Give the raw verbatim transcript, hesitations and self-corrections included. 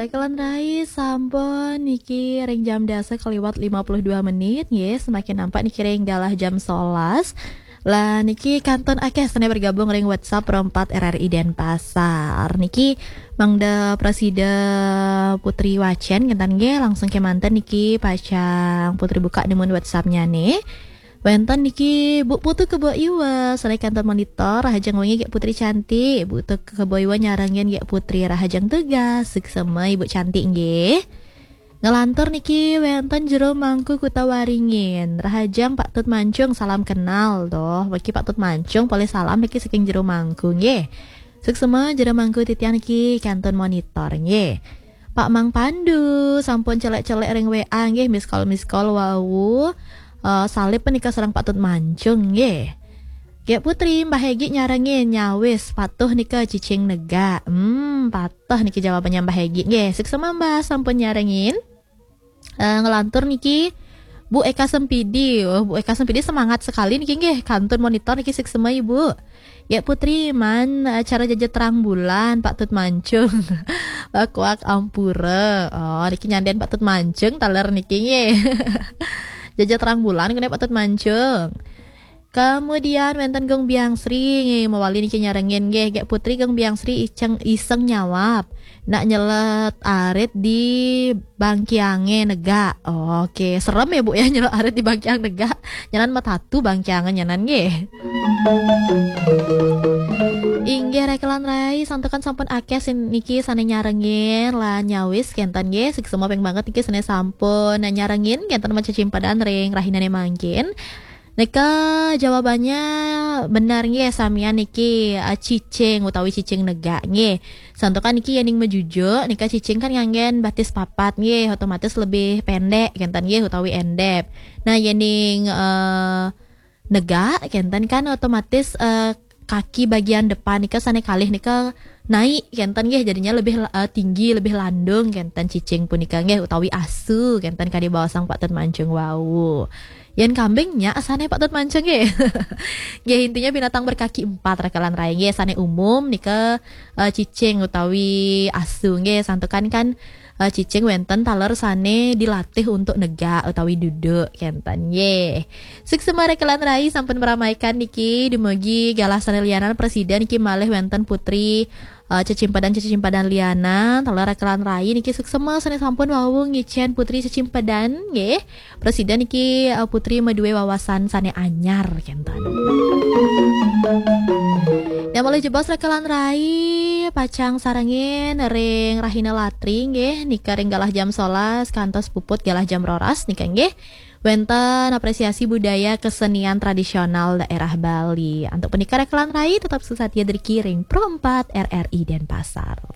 Baiklah, Rai, sampun niki ring jam dasa kaliwat lima puluh dua menit, nggih, semakin nampak niki ring galah jam solas. Lah niki kantun akeh sane bergabung ring WhatsApp Pro empat R R I Denpasar. Niki mangda prasida Putri wacen, kenten nggih, langsung kemanten niki pacang Putri buka nemun WhatsApp-nyane. Wenten niki Bu Putu Kebo Iwa, sane kantun monitor, rahajeng wengi Gek Putri cantik. Bu Putu Kebo Iwa nyarengin Gek Putri, rahajeng tugas, suksema Ibu cantik nggih. Ngelantur niki wenten Jero Mangku Kuta Waringin, rahajeng Pak Tut Mancung, salam kenal doh. Niki Pak Tut Mancung, polih salam niki saking Jero Mangku nggih. Suksema Jero Mangku titiang niki kantun monitor nggih. Pak Mang Pandu sampun celek-celek ring W A nggih, miss call, miss call wau. Eh, salib nika sareng Pak Tut Mancung nggih. Gek Putri, Mbah Hegi nyarengin, nyawis, patuh nika cicing negak. Hmm, patuh niki jawabannya Mbah Hegi nggih. Suksema Mbah sampun nyarengin. Eh, ngelantur niki Bu Eka Sempidi. Oh, Bu Eka Sempidi semangat sekali niki nggih. Kantun monitor niki, suksema Ibu. Gek Putri, man acara jaja terang bulan Pak Tut Mancung. Wakwak ampura. Oh, niki nyanden Pak Tut Mancung taler niki nggih. Jaja terang bulan kene Pak Tut Mancung. Kemudian wenten Gung Biang Sri nggih, mawali niki nyarengin nggih, Gek Putri, Gung Biang Sri iseng, iseng nyawab. Nak nyelet arit di bangkiange negak. Oke, serem ya Bu ya, nyelet arit di bangkiang negak. Nyanan matatu bangkiange nyanan nggih. Inggih, rekelan rai, santukan sampun akeh sin niki sane nyarengin lan nyawis kenten nggih. Suksema ping banget niki sane sampun nyarengin kenten macechimpadan ring rahinane mangkin. Nika jawabannya benar nggih, samian niki, eh, cicing utawi cicing negak nggih. Santukan niki yening majujuk, nika cicing kan nganggen batis papat nggih, otomatis lebih pendek kenten nggih utawi endep. Nah, yening, eh, negak kenten kan otomatis, eh, kaki bagian depan nika sane kalih nika naik kenten nggih, jadinya lebih, eh, tinggi, lebih landung kenten cicing punika nggih, utawi asu kenten kadi baosang Pak Tut Mancung wau. Yen kambing nya sane Pak Tut Mancung nggih. Nggih, intinya binatang berkaki empat rekelan rai nggih, sane umum nika, eh, cicing utawi asu nggih, santukan kan, eh, cicing wenten taler sane dilatih untuk negak utawi duduk kenten nggih. Suksema rekelan rai sampun meramaikan niki, dumugi galah sane lianan prasida niki malih wenten Putri, eh, cecimpadan-cecimpadan lianan, taler rekelan rai niki suksema sane sampun wau ngicen Putri cecimpadan nggih. Prasida niki, eh, Putri madue wawasan sane anyar kenten. Nah, malih jebos rekelan rai pacang sarengin ring rahina latri nggih, nika ring galah jam solas kantos puput galah jam roras nika nggih. Wenten apresiasi budaya kesenian tradisional daerah Bali. Antuk punika rekelan rai tetap sesatia driki ring Pro empat R R I Denpasar.